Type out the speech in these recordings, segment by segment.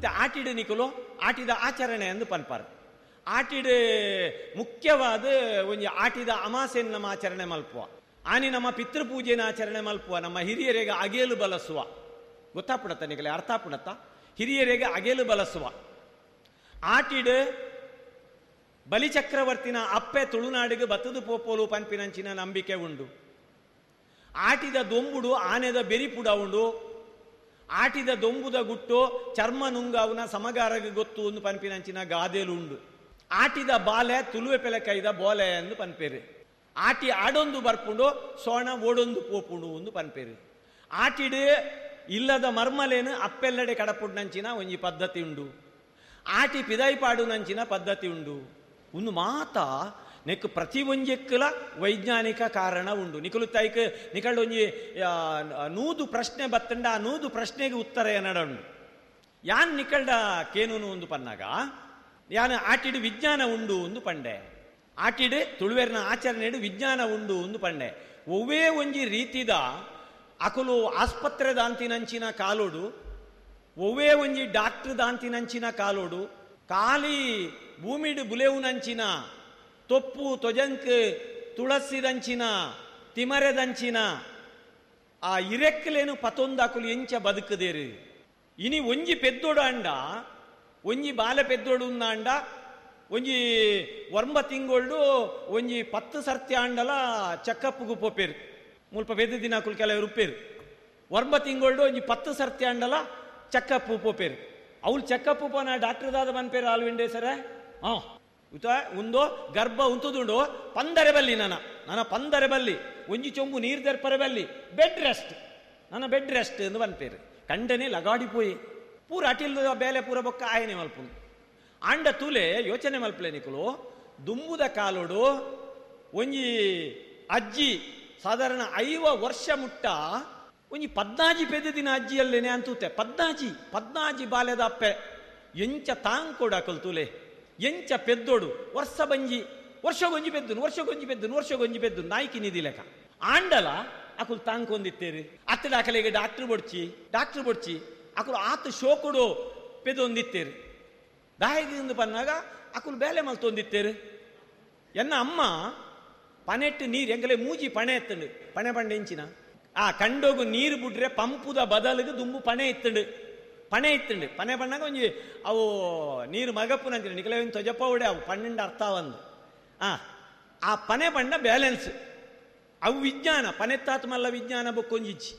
ಇತ್ತೆ ಆಟಿಡು ನಿಕುಲು ಆಟಿದ ಆಚರಣೆ ಎಂದು ಪನ್ಪಾರು. ಆಟಿಡು ಮುಖ್ಯವಾದ ಒಂಜಿ ಆಟಿದ ಅಮಾಸೆಯನ್ನು ನಮ್ಮ ಆಚರಣೆ ಮಲ್ಪುವ. ಆನಿ ನಮ್ಮ ಪಿತೃಪೂಜೆನ ಆಚರಣೆ ಮಲ್ಪುವ. ನಮ್ಮ ಹಿರಿಯರಿಗೆ ಅಗೇಲು ಬಲಸುವ. ಗೊತ್ತಾಪುಣತ್ತ ನಿಕಲೆ? ಅರ್ಥ ಆಪುಣತ್ತ? ಹಿರಿಯರಿಗೆ ಅಗೇಲು ಬಲಸುವ. ಆಟಿಡು ಬಲಿಚಕ್ರವರ್ತಿನ ಅಪ್ಪೆ ತುಳುನಾಡಿಗೆ ಬತ್ತದು ಪೋಪೋಲು ಪನ್ಪಿನಂಚಿನ ನಂಬಿಕೆ ಉಂಡು. ಆಟಿದ ದೊಂಬುಡು ಆನೆದ ಬೆರಿಪುಡ ಉಂಡು. ಆಟಿದ ದೊಂಬುದ ಗುಟ್ಟು ಚರ್ಮ ನುಂಗಾವುನ ಸಮಗಾರಗೆ ಗೊತ್ತು ಒಂದು ಪನ್ಪಿನಂಚಿನ ಗಾದೆಲು ಉಂಡು. ಆಟಿದ ಬಾಲೆ ತುಳುವೆ ಪೆಲಕೈದ ಬೋಲೆ ಎಂದು ಪನ್ಪೇರು. ಆಟಿ ಆಡೊಂದು ಬರ್ಪುಂಡು ಸೋಣ ಓಡೊಂದು ಪೋಪುಂಡು ಒಂದು ಪನ್ಪೇರು. ಆಟಿಡು ಇಲ್ಲದ ಮರ್ಮಲೇನು ಅಪ್ಪೆಲ್ಲಡೆ ಕಡಪುಡ್ನಂಚಿನ ಒಂಜಿ ಪದ್ಧತಿ ಉಂಡು. ಆಟಿ ಪಿದಾಯಿಪಾಡುನಂಚಿನ ಪದ್ಧತಿ ಉಂಡು. ಒಂದು ಮಾತಾ ನೆಕ್ ಪ್ರತಿ ಒಂಜೆಕ್ಕಲ ವೈಜ್ಞಾನಿಕ ಕಾರಣ ಉಂಡು. ನಿಕಲು ತೈಕ್ ನಿಕಲ್ ಒಂಜಿ 100 ಪ್ರಶ್ನೆ ಬತ್ತಂಡ ಆ 100 ಪ್ರಶ್ನೆಗೆ ಉತ್ತರ ಏನಡ ಉಂಡು. ಯಾನ್ ನಿಕಲ್ಡ ಕೇನೂನು ಒಂದು ಪನ್ನಾಗ ಯಾನ್ ಆಟಿಡು ವಿಜ್ಞಾನ ಉಂಡು ಒಂದು ಪಂಡೆ. ಆಟಿಡು ತುಳುವೆರ್ನ ಆಚರಣೆಡು ವಿಜ್ಞಾನ ಉಂಡು ಒಂದು ಪಂಡೆ. ಒವ್ವೇ ಒಂಜಿ ರೀತಿದ ಅಕುಲು ಆಸ್ಪತ್ರೆ ದಾಂತಿನಂಚಿನ ಕಾಲೋಡು, ಒವ್ವೇ ಒಂಜಿ ಡಾಕ್ಟ್ರ್ ದಾಂತಿನಂಚಿನ ಕಾಲೋಡು, ಖಾಲಿ ಭೂಮಿಡು ಬುಲೆವುನಂಚಿನ ತೊಪ್ಪು ತೊಜಂಕ್ ತುಳಸಿದಂಚಿನ ತಿಮರೆದಂಚಿನ ಆ ಇರೆಕ್ಕಲೇನು ಪತೊಂದಾಕುಲು ಎಂಚ ಬದುಕದೇರು. ಇನಿ ಒಂಜಿ ಪೆದ್ದೋಡು ಅಂಡ, ಒಂಜಿ ಬಾಲೆ ಪೆದ್ದೋಡು ಅಂಡ, ಒಂಜಿ 9 ತಿಂಗಳು ಒಂಜಿ 10 ಸರ್ತಿ ಅಂಡಲ ಚಕ್ಕಪ್ಪುಗು ಪೋಪೇರು. ಮುಲ್ಪ ಪೆದ್ದ ದಿನ ಅಕುಲು ಕೆಲವರು ಉಪ್ಪೇರು. 9 ತಿಂಗಳು ಒಂಜಿ 10 ಸರ್ತಿ ಅಂಡಲ ಚಕ್ಕಪ್ಪು ಪೋಪೇರು. ಅವ್ಳು ಚಕ್ಕಪ್ಪು ಪೋನ ಡಾಕ್ಟರ್ ದಾದ ಬನ್ಪೇರು ಆಲ್ವಿಂಡೆ ಸರ. ಹಾಂ ಉತ ಉಂದೋ ಗರ್ಭ ಉಂತುದುಂಡು ಪಂದರೆ ಬಲ್ಲಿ ನನ್ನ ನನ್ನ ಪಂದರೆ ಬಲ್ಲಿ ಒಂಜಿ ಚೊಂಬು ನೀರು ದರ್ಪರೆ ಬಲ್ಲಿ ಬೆಡ್ ರೆಸ್ಟ್ ನನ್ನ ಬೆಡ್ ರೆಸ್ಟ್ ಎಂದು ಬನ್ಪೇರು. ಕಂಡನೆ ಲಗಾಡಿ ಪೋಯಿ ಪೂರ ಅಟಿಲ್ ಬೇಲೆ ಪೂರ ಬೊಕ್ಕ ಆಯನೆ ಮಲ್ಪುನು. ಆಂಡ ತೂಲೆ ಯೋಚನೆ ಮಲ್ಪಲೆ ನಿಕುಲು. ದುಂಬುದ ಕಾಲೋಡು ಒಂಜಿ ಅಜ್ಜಿ ಸಾಧಾರಣ 50 ವರ್ಷ ಮುಟ್ಟ ಒಂಜಿ 14 ಪೆದ್ದ ದಿನ ಅಜ್ಜಿಯಲ್ಲೇನೆ ಅಂತೂತೆ. 14 ಬಾಲ್ಯದ ಅಪ್ಪೆ ಎಂಚ ತಾಂಕೊಡು ಅಕಲ್ ತೂಲೆ ಎಂಚ ಪೆದ್ದೋಡು. ವರ್ಷ ಬಂಜಿ ವರ್ಷಗೊಂಜಿ ಪೆದ್ದುನು ವರ್ಷಗೊಂಜಿ ಪೆದ್ದುನು ವರ್ಷಗೊಂಜಿ ಪೆದ್ದು ನಾಯ್ಕಿ ನಿಧಿ ಲೆಕ್ಕ ಆಂಡಲ ಅಕುಲು ತಾಂಕೊಂದಿತ್ತೇರು. ಅತ್ತಡ ಅಕಲಿಗೆ ಡಾಕ್ಟ್ರ್ ಬೊಡ್ಚಿ ಡಾಕ್ಟ್ರ್ ಬೊಡ್ಚಿ ಅಕುಲು ಆತ ಶೋಕುಡು ಪೆದೊಂದಿತ್ತೇರು. ದಾಯಿಗಿಂದು ಪನ್ನಾಗ ಅಕುಲು ಬೇಲೆ ಮಲ್ತೊಂದಿತ್ತೇರು. ಎನ್ನ ಅಮ್ಮ ಪನೆಟ್ಟು ನೀರು ಎಂಗಲೇ ಮೂಜಿ ಪಣೆ ಎತ್ತಂಡು. ಪಣೆ ಪಂಡೆ ಎಂಚಿನ ಆ ಕಂಡೋಗು ನೀರು ಬಿಡ್ರೆ ಪಂಪುದ ಬದಲಿಗೆ ದುಂಬು ಪಣೆ ಇತ್ತಂಡು. ಪಣೆ ಇತ್ತಂಡು. ಪಣೆ ಪಣ್ಣಾಗ ಒಂಜಿ ಅವು ನೀರು ಮಗಪ್ಪುನಂಚಿನ ನಿಕಲೆ ಒಂದು ತೊಜಪ್ಪ ಉಡೆ ಅವು 12 ಅರ್ಥ ಒಂದು ಆ ಪಣೆ ಪಂಡ ಬ್ಯಾಲೆನ್ಸ್ ಅವು ವಿಜ್ಞಾನ. ಪನೆತ್ತಾತ್ ಮಲ್ಲ ವಿಜ್ಞಾನ ಬೊಕ್ಕೊಂಜಿಚ್ಚಿ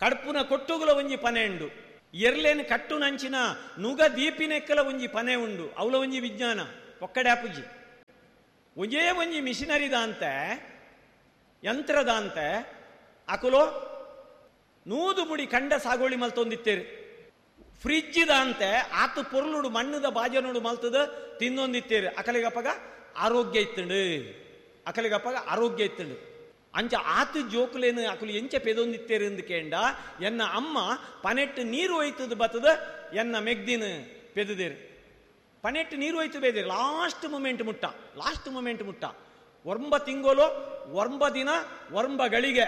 ಕಡ್ಪುನ ಕೊಟ್ಟುಗುಲ ಒಂಜಿ ಪನೆ ಉಂಡು. ಎರ್ಲೇನು ಕಟ್ಟುನಂಚಿನ ನುಗ ದೀಪಿನೆಕ್ಕಲ ಒಂಜಿ ಪನೆ ಉಂಡು. ಅವಲ ಒಂಜಿ ವಿಜ್ಞಾನ ಒಕ್ಕಡೆ ಅಪುಜಿ. ಒಂಜೇ ಒಂಜಿ ಮಿಷಿನರಿದಾಂತೆ ಯಂತ್ರದಾಂತೆ ಅಕುಲು 100 ಮುಡಿ ಕಂಡ ಸಾಗೋಳಿ ಮಲ್ತೊಂದಿತ್ತೇರು. ಫ್ರಿಜ್ಜಿದಾಂತೆ ಆತು ಪೊರ್ಲುಡು ಮಣ್ಣುದ ಬಾಜನೋಡು ಮಲ್ತದ ತಿನ್ನೊಂದಿತ್ತೇರು. ಅಕಲಿಗಪ್ಪಗ ಆರೋಗ್ಯ ಇತ್ತಂಡು. ಅಕಲಿಗಪ್ಪಗ ಆರೋಗ್ಯ ಇತ್ತಂಡು. ಅಂಚ ಆತು ಜೋಕುಲೇನು ಅಕುಲು ಎಂಚ ಪೆದೊಂದಿತ್ತೇರು ಎಂದು ಕೇಂಡ ಎನ್ನ ಅಮ್ಮ ಪನೆಟ್ಟು ನೀರು ಒಯ್ತದ ಬತ್ತದ ಎನ್ನ ಮೆಗ್ದಿನ ಪೆದದೇರು. ಪನೆಟ್ಟು ನೀರು ಒಯ್ತು ಬೇದೇರು ಲಾಸ್ಟ್ ಮೂಮೆಂಟ್ ಮುಟ್ಟ. ಲಾಸ್ಟ್ ಮೂಮೆಂಟ್ ಮುಟ್ಟ 9 ತಿಂಗಳು 9 ದಿನ 9 ಗಳಿಗೆ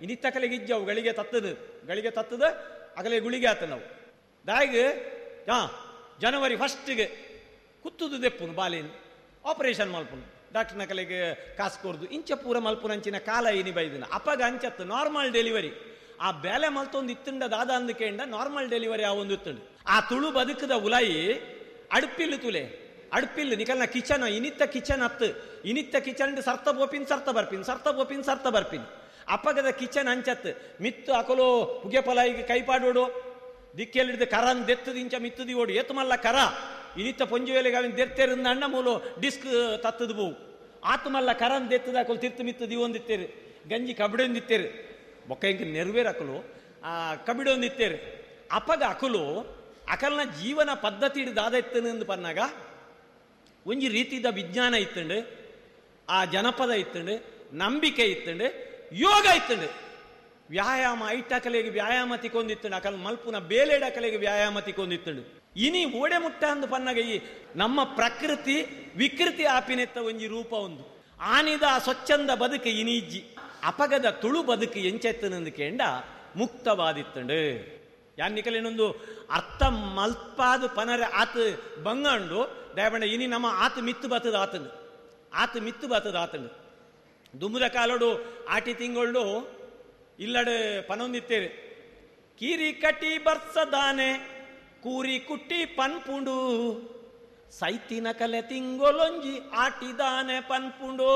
ಇನ್ನಿತ್ತಕಲೆಗೆ ಇಜ್ಜವು ಗಳಿಗೆ ತತ್ತದು ಗಳಿಗೆ ತತ್ತದ ಅಗಲೆ ಗುಳಿಗೆ ಆತ ನಾವು ದಾಯಿಗೆ ಜನವರಿ 1ಗೆ ಕುತ್ತುದು ದೆಪ್ಪುನು ಬಾಲೇನು ಆಪರೇಷನ್ ಮಲ್ಪುನು ಡಾಕ್ಟರ್ನ ಕಲೆಗೆ ಕಾಸು ಕೊರ್ದು ಇಂಚ ಪೂರ ಮಲ್ಪುನಂಚಿನ ಕಾಲ ಇನಿ ಬೈದಿನ ಅಪಗ ಅಂಚತ್ತು ನಾರ್ಮಲ್ ಡೆಲಿವರಿ. ಆ ಬೇಲೆ ಮಲ್ತೊಂದು ಇತ್ತುಂಡ ದಾದ ಅಂದಕೇಂಡ ನಾರ್ಮಲ್ ಡೆಲಿವರಿ ಆ ಒಂದು ಇತ್ತುಂಡು. ಆ ತುಳು ಬದುಕದ ಉಲಾಯಿ ಅಡ್ಪಿಲ್ಲು ತುಲೆ ಅಡ್ಪಿಲ್ಲು ನಿಕಲ್ನ ಕಿಚನ್ ಇನಿತ್ತ ಕಿಚನ್ ಅತ್ತು ಇನಿತ್ತ ಕಿಚನ್ ಸರ್ತ ಬೋಪಿನ್ ಸರ್ತ ಬರ್ಪಿನ್ ಸರ್ತ ಬೋಪಿನ್ ಸರ್ತ ಬರ್ಪಿನ್. ಅಪಗದ ಕಿಚನ್ ಅಂಚತ್ತು ಮಿತ್ತು ಅಕಲು ಪುಗೆ ಪಲಾಯಿಗೆ ಕೈಪಾಡೋಡು ದಿಕ್ಕೆಲ್ಲಿಡ್ದು ಕರನ್ ದೆತ್ತದ ಇಂಚ ಮಿತ್ತದಿ ಓಡು ಏತು ಮಲ್ಲ ಕರ ಇನಿತ್ತ ಪೊಂಜು ವೇಲೆಗೆ ಅವಿನ ದೆತ್ತೇರಿಂದ ಅಣ್ಣ ಮೂಲು ಡಿಸ್ಕ್ ತತ್ತದ ಬೋವು ಆತ್ಮಲ್ಲ ಕರನ್ ದೆತ್ತದ ಅಕಲು ತಿರ್ತು ಮಿತ್ತು ದಿವೊಂದಿತ್ತೇರು ಗಂಜಿ ಕಬಿಡೊಂದಿತ್ತೇರು ಬೊಕ್ಕ ಇಂಕ ನೆರವೇರು ಅಕಲು ಆ ಕಬಿಡೊಂದಿತ್ತೇರು. ಅಪಗ ಅಕಲು ಅಕಲ್ನ ಜೀವನ ಪದ್ಧತಿ ದಾದ ಇತ್ತನು ಪನ್ನಾಗ ಒಂಜಿ ರೀತಿದ ವಿಜ್ಞಾನ ಇತ್ತಂಡು, ಆ ಜನಪದ ಇತ್ತಂಡು, ನಂಬಿಕೆ ಇತ್ತಂಡು, ಯೋಗ ಇತ್ತಂಡು. ವ್ಯಾಯಾಮ ಐಟಕಲೆಗೆ ವ್ಯಾಯಾಮ ತಿಕ್ಕೊಂದಿತ್ತಂಡು. ಅಕಲ್ ಮಲ್ಪುನ ಬೇಲೆಡಕಲೆಗೆ ವ್ಯಾಯಾಮ ತಿಕ್ಕೊಂದಿತ್ತಂಡು. ಇನಿ ಓಡೆ ಮುಟ್ಟ ಅಂದು ಪನ್ನಾಗ ಈ ನಮ್ಮ ಪ್ರಕೃತಿ ವಿಕೃತಿ ಆಪಿನೆತ್ತ ಒಂಜಿ ರೂಪ ಒಂದು ಆನಿದ ಸ್ವಚ್ಛಂದ ಬದುಕು ಇನಿಜ್ಜಿ. ಅಪಗದ ತುಳು ಬದುಕು ಎಂಚೆತ್ತನಂದು ಕೇಂಡ ಮುಕ್ತವಾದಿತ್ತಂಡು. ಯಾನ್ ನಿಕಲೇನೊಂದು ಅರ್ಥ ಮಲ್ಪಾದ್ ಪನರೆ ಆತ್ ಬಂಗಂಡು ದಯಬಂಡ ಇನಿ ನಮ್ಮ ಆತ್ ಮಿತ್ತು ಬತ್ತದ ಆತಂಡು ಆತ್ ಮಿತ್ತು ಬತ್ತದ ಆತಂಡು. ದುಂಬುದ ಕಾಲೋಡು ಆಟಿ ತಿಂಗಳು ಇಲ್ಲಡೆ ಪನೊಂದಿತ್ತೇರು ಕೀರಿ ಕಟ್ಟಿ ಬರ್ಸದಾನೆ ಕೂರಿ ಕುಟ್ಟಿ ಪನ್ಪುಂಡು ಸೈತಿನ ಕಲೆ ತಿಂಗೊಲೊಂಜಿ ಆಟಿದಾನೆ ಪನ್ಪುಂಡು.